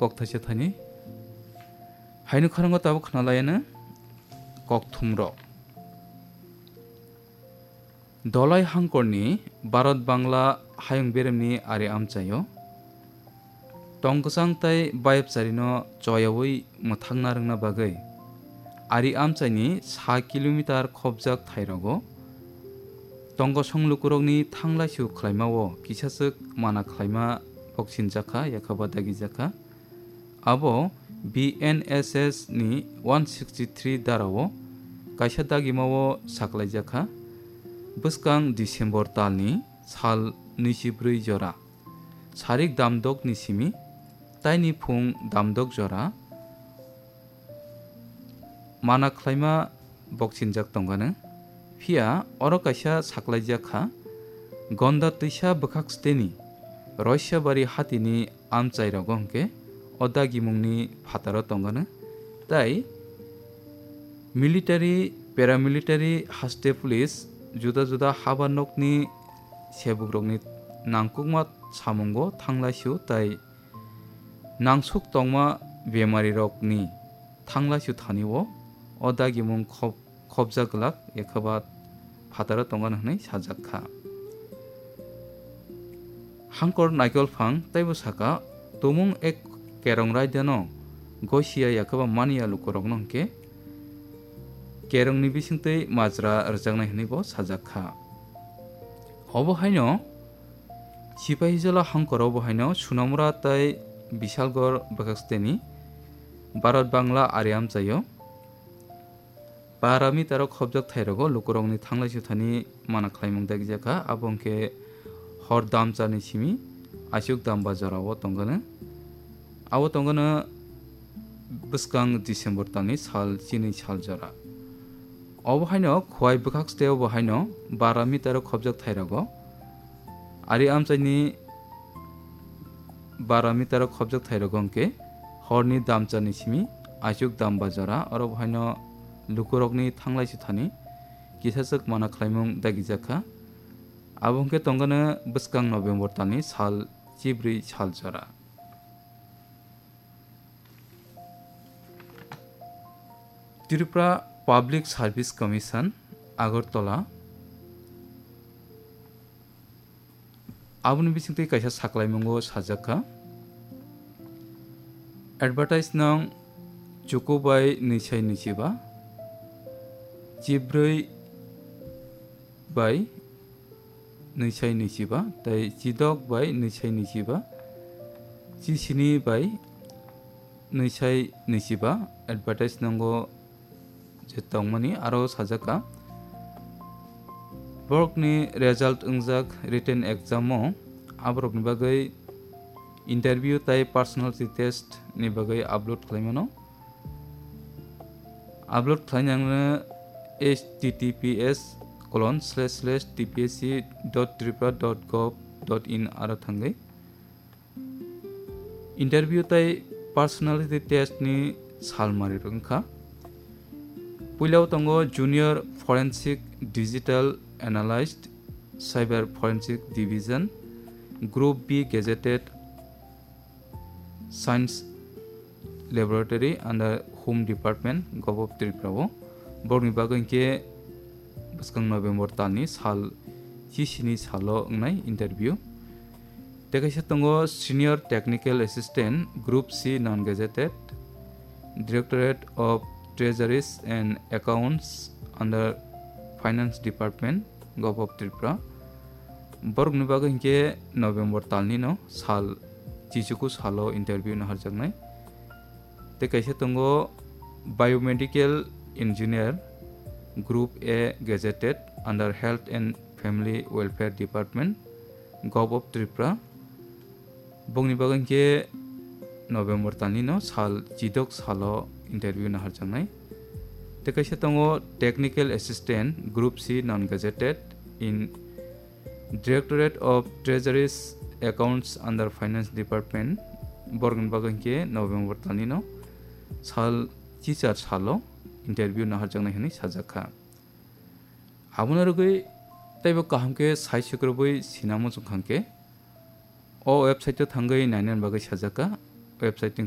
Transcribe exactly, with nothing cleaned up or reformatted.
kokthaisa thani. Haino khorang o tabuk khna lai ano kokthum rok. Dolai hangkor ni Bharat Bangla hayung berem ni ari amchai o tong kwchang tei bayapchari no choyaui mwthangna rwngna bagwi ari amchai ni sa kilometer khopjak thai rogo tong kosong lukurok ni thanglaisu khlaima o kisachwk mana khlaima boksinjak kha, yakhaba dagijak kha. Abo B N S S ni one sixty three dara o kaisa dagima o saklaijak kha. Bwskang December tal ni sal nui chi bwrwi jora sarik damdok ni simi taini phung damdok jora mana khlaima boksinjak tongano. Phiya oro kaisa saklaijak kha, Gonda twisa bwkhak steni Roisabari hatini amchai rogo hwnkhe o dagimungni phataro tongano. Tai military, paramilitary, haste police, juda juda haba nokni sebukrokni nangkukma samungo thanglaisu tai nangsuk tongma bemarirokni thanglaisu thani o, o dagimung khop-, khopjak glak, yakhaba phataro tongano hwnwi sajak kha. Hangkor Naikol Phang teibo saka, tumung ek kerong raidano goisiya yakhaba maniya lukurokno hwnkhe kerongni bisingtwi majra rwjaknai hwnwi bo sajak kha. Obo haino Sipahijola hangkoro bo haino Sunamura tei Bisalgor bwkhaksteni Bharat Bangla ari amchaio para meter o khopjak thairogo lukurokni thanglai suthani mana khlaimung dagijak kha, abo hwnkhe hor damcharni simi aswk damba jorao tongkano. Abo tongkano bwskang December talni sal chini sal jora. Obo haino Khowai bwkhak steo bo haino bara meter o khopjak thairogo. Ari amchaini bara meter o khopjak thairogo hwnkhe horni damcharni simi aswk damba jora. Oro bo haino lukurokni thanglai suthani kisachwk mana khlaimung dagijak kha. Abo hwnkhe tongkano bwskang November talni sal chibrwi sal jora. Tripura Public Service Commission, Agartala, aboni bisingtwi kaisa saklaimungo sajak kha. Advertise nong chuku bai nwi sai nwi chiba, chibrwi bai nwi sai nwi chiba, tei chidok bai nwi sai nwi chiba, chisini bai nwi sai nwi chiba advertise nongo je tongmani aro sajak kha. Borokni result wngjak written exam o aborokni bagwi interview tei personality test ni bagwi upload khlaimano. Upload khlainangno H T T P S colon slash slash T P S C dot tripura dot gov dot in aro thangwi. Interview tei personality test ni salmari wngkha. Puilao tongo Junior Forensic Digital Analyst, Cyber Forensic Division, Group B gazetted Science Laboratory under Home Department, Govt of Tripura o. Borokni bagwi hwnkhe bwskang November talni sal chisini salo wngnai interview. Tei kaisa tongo Senior Technical Assistant, Group C non gazetted, Directorate of Treasuries and Accounts under Finance Department, Govt of Tripura. Borokni bagwi hwnkhe November talni no sal chichuku salo interview naharjaknai. Tei kaisa tongo Biomedical Engineer, Group A gazetted under Health and Family Welfare Department, Govt of Tripura. Bongni bagwi hwnkhe November talni no sal chidok salo interview naharjaknai. Tei kaisa tongo Technical Assistant, Group C non gazetted in Directorate of Treasuries Accounts under Finance Department. Borokni bagwi hwnkhe November talni no sal chichar salo interview naharjaknai hwnwi sajak kha. Abono rwgwi teibo kaham khe sai sukrubwi sinamo chwng kha hwnkhe o website o thangwi nainani bagwi sajak kha. Website ni